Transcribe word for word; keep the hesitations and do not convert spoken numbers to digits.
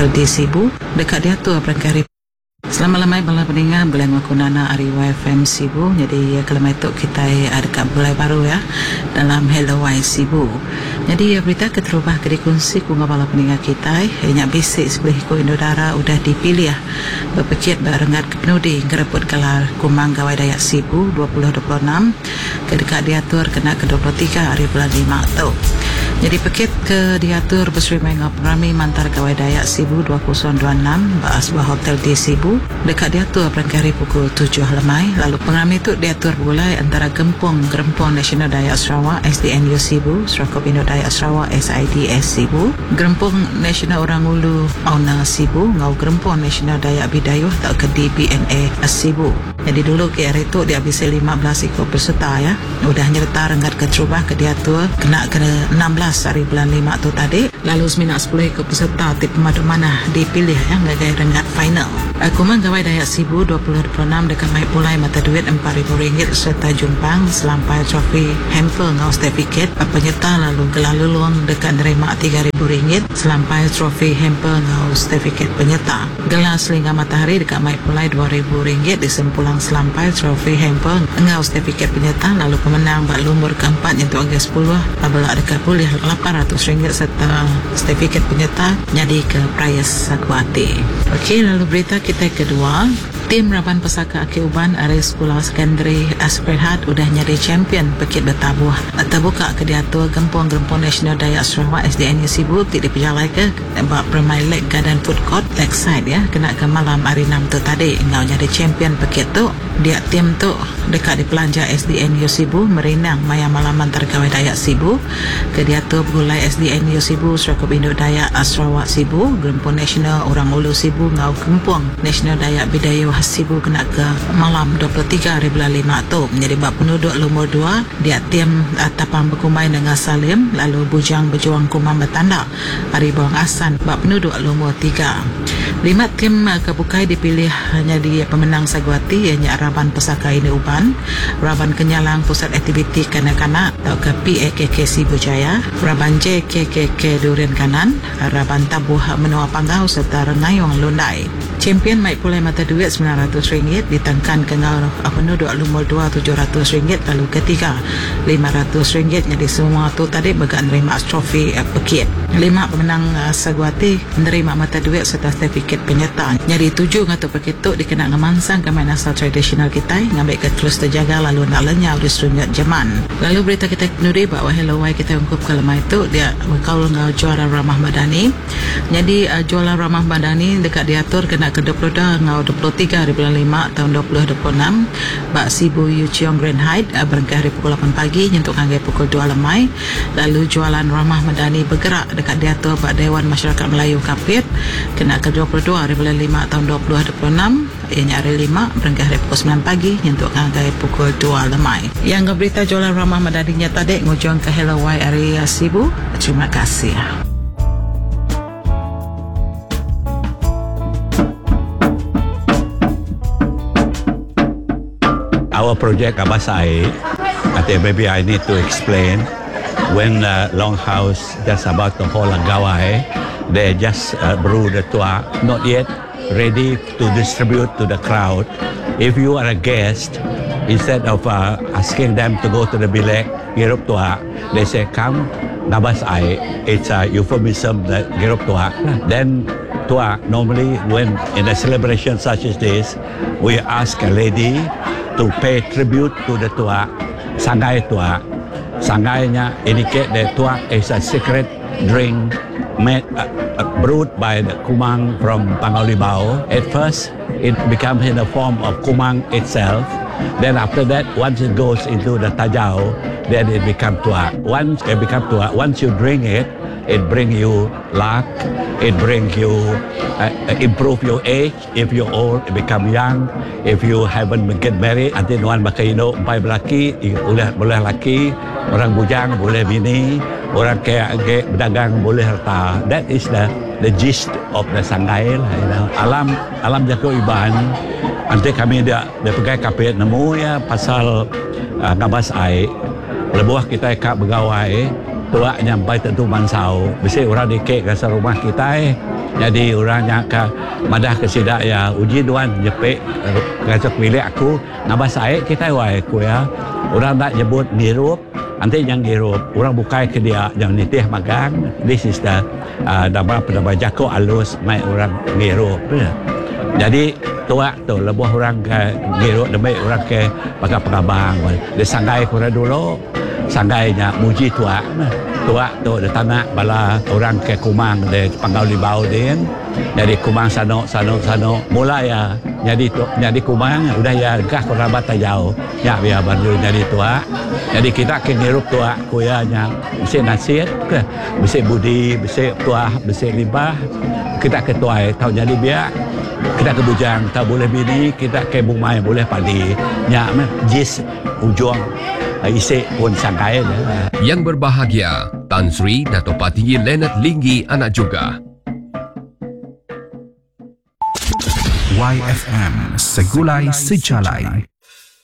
Di Sibu dekat diatur berangkai hari. Selamat lemai bala peninga belai ngaku Nana ari Y F M Sibu. Jadi kelemai tu kita ada kat belai baru ya dalam Hello Y Sibu. Jadi berita keterubah ke dikongsi ku bala peninga kita nya bisi sepuluh iku Indodara udah dipilih berpekit barenggat ke penudi ngerebut gelar Kumang Gawai Dayak Sibu dua ribu dua puluh enam ke dekat diatur kena ke dua puluh tiga hari bulan lima tu. Jadi pekit ke diatur berserimai dengan pengerami Mantar Gawai Dayak Sibu dua ribu dua puluh enam ba sebuah hotel di Sibu dekat diatur berangkai hari pukul tujuh lemai. Lalu pengerami itu diatur bergulai antara Gempung Gerempung Nasional Dayak Sarawak S D N U Sibu, Serakup Indo Dayak Sarawak S I D S Sibu, Gerempung Nasional Orang Ulu Auna Sibu ngau Gerempung Nasional Dayak Bidayuh atau ke D B N A Sibu. Jadi dulu ke hari itu dia bisa lima belas ikut peserta ya. Udah nyerta renggat keterubah ke diatur kena ke enam belas hari bulan lima tu tadi. Lalu semina sepuluh ikut peserta ti pemadu mana dipilih ya ngagai renggat final. Kumang Gawai Dayak Sibu dua ribu dua puluh enam dekat mai pulai mata duit empat ribu ringgit serta jumpang selampai trofi hamper ngau sertifikat penyerta lalu gelar lulung dekat nerima tiga ribu ringgit selampai trofi hamper ngau sertifikat penyerta. Gelar selingga matahari dekat mai pulai dua ribu ringgit disempulang selampai trofi hamper ngau sertifikat penyerta. Lalu pemenang bak lumur keempat nyentuh angka sepuluh belak dekat pulih lapan ratus ringgit serta sertifikat penyerta jadi ke Prayas Sakuati. Okey, lalu berita kita kedua, tim Raban Pesaka Aki Uban ari Sekolah Sekondari Asperhat udah nyari champion pekit bertabuh. Terbuka ke diatur Gempung-Gempung Nasional Dayak Sarawak S D N U Sibu ti dipejalai ke bak Permai Lake Garden Food Court Lakeside ya kena ke malam hari enam tu tadi ngau nyari champion pekit tu. Dia tim tu dekat dipelanja S D N U Sibu merinang maya malam antar Gawai Dayak Sibu ke diatur bergulai S D N U Sibu Serakup Indo Dayak Sarawak Sibu Gempung Nasional Orang Ulu Sibu ngau Gempung Nasional Dayak Bidayuh Sibu kena ke malam dua puluh tiga hari bulan lima tu. Menjadi bab penduduk lumur dua dia tim Tapang Berkumai dengan Salim lalu Bujang Berjuang Kumang Bertanda hari Bawang Asan bab penduduk lumur tiga. Lima tim kebukai dipilih hanya di pemenang Saguati ianya Raban Pesaka Ini Uban, Raban Kenyalang Pusat Aktiviti Kanak-kanak atau ke P A K K Sibu Jaya, Raban J K K K Durian Kanan, Raban Tabuh Menua Panggau serta Rengayong Lundai. Champion mai pulai mata duit sembilan ratus ringgit ditangkan ke ngau penduduk lumur dua tujuh ratus ringgit lalu ketiga lima ratus ringgit. Jadi semua tu tadi bergak nerima trofi eh, pekit. Lima pemenang uh, Saguati menerima mata duit serta sertifikat penyertaan. Jadi tujuh ngatu pekit tu dikena ngemansang ke main asal tradisional kita ngambil ke terus terjaga lalu nak lenyau di serunyut jaman. Lalu berita kita nuri bahawa Hello Y kita ungkup ke lemah itu dia berkaul ngau juara Ramah Madani. Jadi uh, jualan Ramah Madani dekat diatur kena ke dua puluh dua ngau dua puluh tiga hari bulan lima tahun dua ribu dua puluh enam bak Sibu Yu Chiong Grand Height uh, berengkah hari pukul lapan pagi nyentuk hingga pukul dua lemai. Lalu jualan Ramah Madani bergerak dekat diatur bak Dewan Masyarakat Melayu Kapit kena ke dua puluh dua hari bulan lima tahun dua ribu dua puluh enam ianya hari lima berengkah hari pukul sembilan pagi nyentuk hingga pukul dua lemai. Yang berita jualan Ramah Madaninya tadi ngujung ke Hello Y area Sibu. Terima kasih. Our project Abasai, I think maybe I need to explain. When the Longhouse just about to hold a gawai, they just, uh, brew the tuak, not yet ready to distribute to the crowd. If you are a guest, instead of, uh, asking them to go to the bilik, girup tuak, they say, come, ngabas ai. It's a euphemism that girup tuak. Then tuak, normally when in a celebration such as this, we ask a lady to pay tribute to the tuak, sangai tuak. Sangainya indicate that tuak is a secret drink made, uh, uh, brewed by the Kumang from Panggau Libau. At first, it becomes in the form of Kumang itself. Then after that, once it goes into the tajau, then it becomes tuak. Once it becomes tuak, once you drink it, it brings you luck, it brings you, uh, improve your age. If you're old, it become young. If you haven't get married, nanti nuan bakal hidup empat lelaki, boleh, boleh laki, orang bujang boleh bini, orang kaya ke berdagang boleh harta. That is the, the gist of the sangai lah, you know. Alam, alam jago iban, nanti kami dia, dia pegai kapit nemu ya pasal, uh, ngabas air. Lebuh kita kak begawai, Tuak nyampai tentu mansau. Bisi orang dikek ke rumah kita. Jadi orang nya ke madah ke sida ya uji duan nyepik ngajak milik aku ngabas air kita wai ku ya. Orang nak nyebut ngirup, nanti yang ngirup orang bukai ke dia yang nitih magang. This is the uh, nama penama jako alus mai orang ngirup. Ya. Jadi tuak tu lebuh orang ke ngirup demi orang ke pakai pengabang. Dia sanggai kurang dulu. Sanggainya muji tuak. Tuak tu dia tanak bala orang ke Kumang di Panggau Libau din. Jadi Kumang sano sano sano mula ya jadi tu jadi Kumang udah ya gah kurang bata jauh. Ya biar baru jadi tuak. Jadi kita ke ngirup tuak kuya nya bisi nasid ke bisi budi bisi tuah bisi limbah. Kita ke tuai tau jadi biak. Kita ke bujang tak boleh bini, kita ke bumai boleh padi. Nya meh jis ujung isi pun sangkai dia. Yang berbahagia, Tan Sri Dato' Patinggi Leonard Linggi Anak Juga. Y F M Segulai Sejalai.